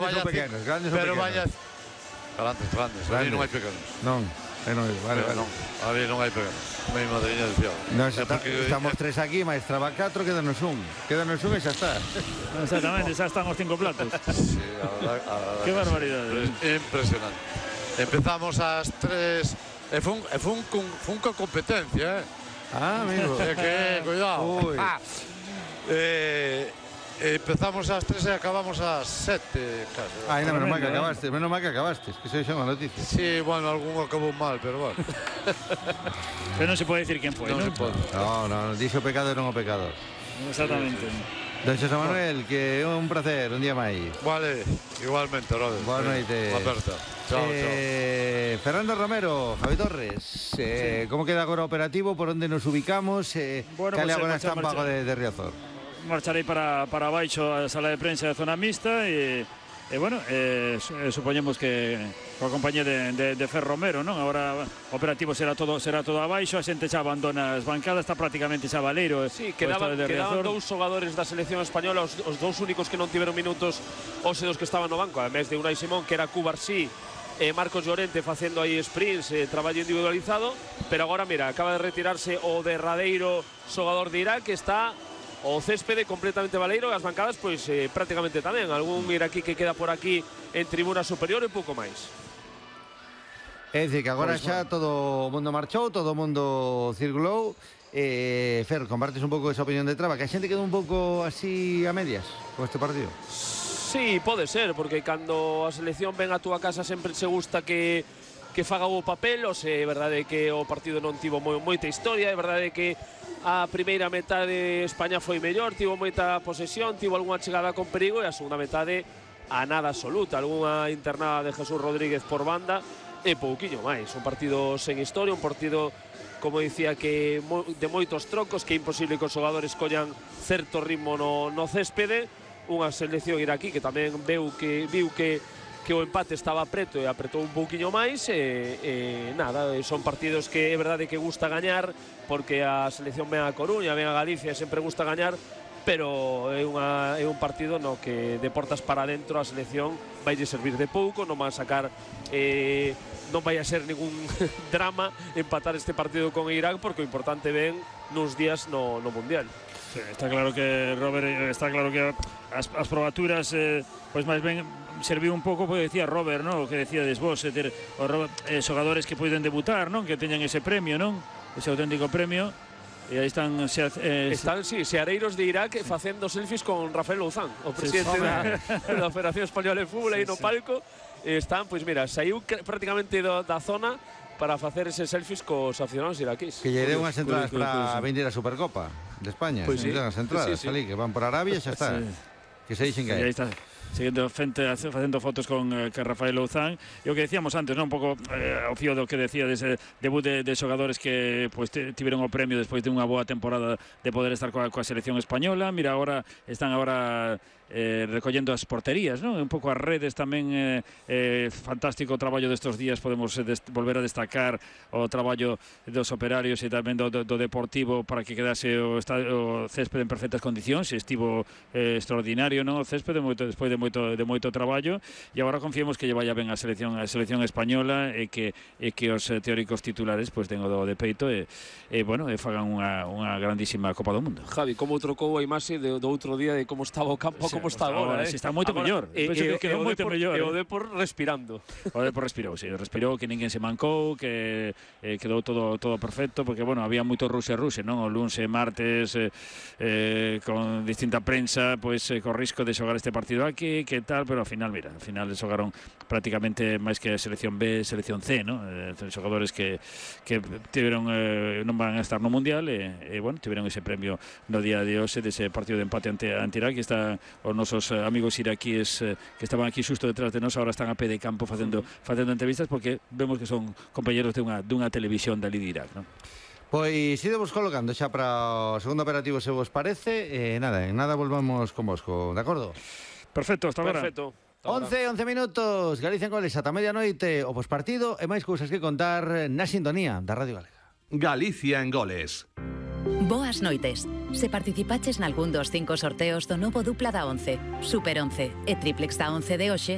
Son pequenos, grandes ou pequenos? Grandes. Ali non hai pequenos. Non, non hai, vale. Ali non hai pequenos. Mi madriña dicía. Estamos tres aquí, maestra va 4, quédanos un e xa está. Exactamente, xa están os 5 platos. Sí, Qué barbaridade. Impresionante. Empezamos ás 3 e fun con competencia, Amigo. Cuidado. Empezamos ás 3 e acabamos ás 7 casi. Menos mal que acabaste, que se xa unha noticia. Sí, bueno, algún acabou mal, pero bueno. Pero non se pode decir quen foi, Non non? se pode. No, dixo o pecado e non o pecador. Exactamente. Don Xosé Manuel, que é un placer, un día máis. Vale, igualmente, Rodes. Boa noite. Aperta. Chao. Fernando Romero, Javi Torres, como queda agora operativo, por onde nos ubicamos, cale agora está en Pago de Riazor? Marcharei para baixo a sala de prensa da zona mixta e bueno, supoñemos que coa compañía de Fer Romero, non? Agora o operativo será todo abaixo, a xente xa abandona as bancadas, está prácticamente xa Valeiro. Sí, quedaban dous xogadores da selección española, os dous únicos que non tiveron minutos, os dos que estaban no banco, ademais de Unai Simón, que era Cubarsí, Marcos Llorente facendo aí sprints, traballo individualizado, pero agora, mira, acaba de retirarse o derradeiro xogador de Irak, que está o céspede completamente baleiro, as bancadas pois prácticamente tamén, algún iraquí que queda por aquí en tribuna superior e pouco máis. É dicir, que agora xa todo o mundo marchou, todo o mundo circulou. Fer, compartes un pouco esa opinión de Traba, que a xente quedou un pouco así a medias con este partido? Sí, pode ser, porque cando a selección ven a túa casa sempre se gusta que faga o papel, ou se é verdade que o partido non tivo moita historia, é verdade que a primeira metade de España foi mellor, tivo moita posesión, tivo algunha chegada con perigo, e a segunda metade a nada absoluta, algunha internada de Jesús Rodríguez por banda e pouquiño máis. Un partido sen historia, un partido, como dicía, que de moitos trocos, que é imposible que os xogadores collan certo ritmo no céspede. Unha selección iraquí que tamén viu que o empate estaba preto e apretou un pouquiño máis e nada, son partidos que é verdade que gusta gañar, porque a selección ven a Coruña, ven a Galicia e sempre gusta gañar, pero é un partido no que de portas para dentro a selección vai servir de pouco, non van a sacar non vai a ser ningún drama empatar este partido con Irak, porque o importante ven nuns días no Mundial. Sí, está claro que Robert, está claro que as probaturas pois máis ben serviu un pouco, porque decía Robert, non? O que decía desvós, xogadores que poden debutar, non? Que teñan ese premio, non? Ese auténtico premio. E aí están seareiros de Irak facendo selfies con Rafael Louzán, o presidente da Federación Española de Fútbol, aí no palco. Están, pois mira, saiu prácticamente da zona para facer ese selfies cos aficionados iraquís. Que lle deu unhas entradas para vender a Supercopa de España. Pois sí. As entradas, ali, que van por Arabia e xa está. Que se dixen que hai. Aí está. Seguindo facendo fotos con Rafael Louzán. E o que decíamos antes, non? Un pouco ao fío do que decía dese debut de xogadores que pues, tiveron o premio despois de unha boa temporada de poder estar coa selección española. Mira, agora están recollendo as porterías, non? Un pouco as redes tamén, fantástico o traballo destes días. Podemos volver a destacar o traballo dos operarios e tamén do Deportivo para que quedase o céspede en perfectas condicións. Estivo extraordinario, non? O céspede despois de moito traballo, e agora confiemos que lle vaya ben a selección española e que os teóricos titulares pues, den o do de peito e bueno, fagan unha grandísima Copa do Mundo. Javi, como trocou a imaxe do outro día de como estaba o campo, como está agora, está moito mellor. Penso que quedou moito mellor. E o Depor respirando. O Depor respirou, que ninguén se mancou, que quedou todo perfecto, porque bueno, había moito ruxe, non? O luns e martes con distinta prensa, pois co risco de xogar este partido aquí, que tal, pero ao final, mira, xogaron prácticamente máis que a selección B, selección C, non? Xogadores que tiveron non van a estar no Mundial e bueno, tiveron ese premio no día de hoxe dese partido de empate ante Irak. Que está os nosos amigos iraquíes que estaban aquí xusto detrás de nós, agora están a pé de campo facendo entrevistas, porque vemos que son compañeros dunha televisión dali de Irak, non? Pois idemos colocando xa para o segundo operativo, se vos parece. En nada volvamos con vosco, de acordo? Perfecto, hasta agora. Perfecto. 11 minutos, Galicia en goles ata medianoite, o pospartido e máis cousas que contar na sintonía da Radio Galega. Galicia en goles. Boas noites. Se participaches nalgún dos 5 sorteos do novo dupla da 11, Super 11 e Triplex da 11 de hoxe,